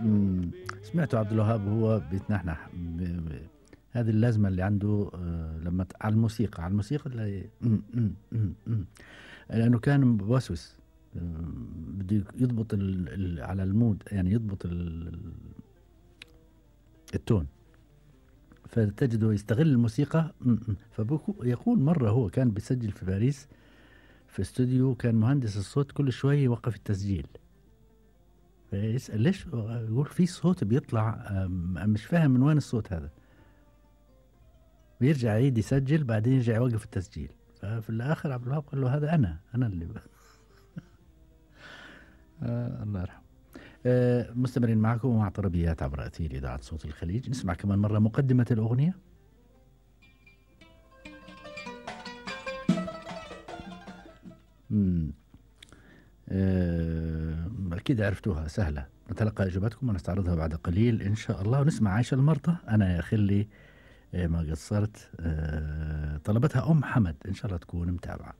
إمم، سمعته عبد الوهاب وهو بيتنحنح هذه اللازمة اللي عنده لمّا على الموسيقى، على الموسيقى تلاقي لأنه كان بوسوس بده يضبط على الmood يعني يضبط الtone فتجده يستغل الموسيقى يقول مرّة هو كان بيسجل في باريس في استوديو كان مهندس الصوت كل شوي يوقّف التسجيل. فيسأل ليش يقول في صوت بيطلع مش فاهم من وين الصوت هذا، ويرجع يعيد يسجل بعدين يرجع يوقف التسجيل، ففي الآخر عبد الوهاب قال له هذا أنا اللي الله يرحمه. مستمرين معكم مع طربيات عبر أثير إذاعة صوت الخليج، نسمع كمان مرة مقدمة الأغنية. أكيد عرفتوها سهلة، نتلقى إجاباتكم ونستعرضها بعد قليل إن شاء الله، ونسمع عايشة المرضى أنا يا خلي ما قصرت. طلبتها أم حمد، إن شاء الله تكون متابعة.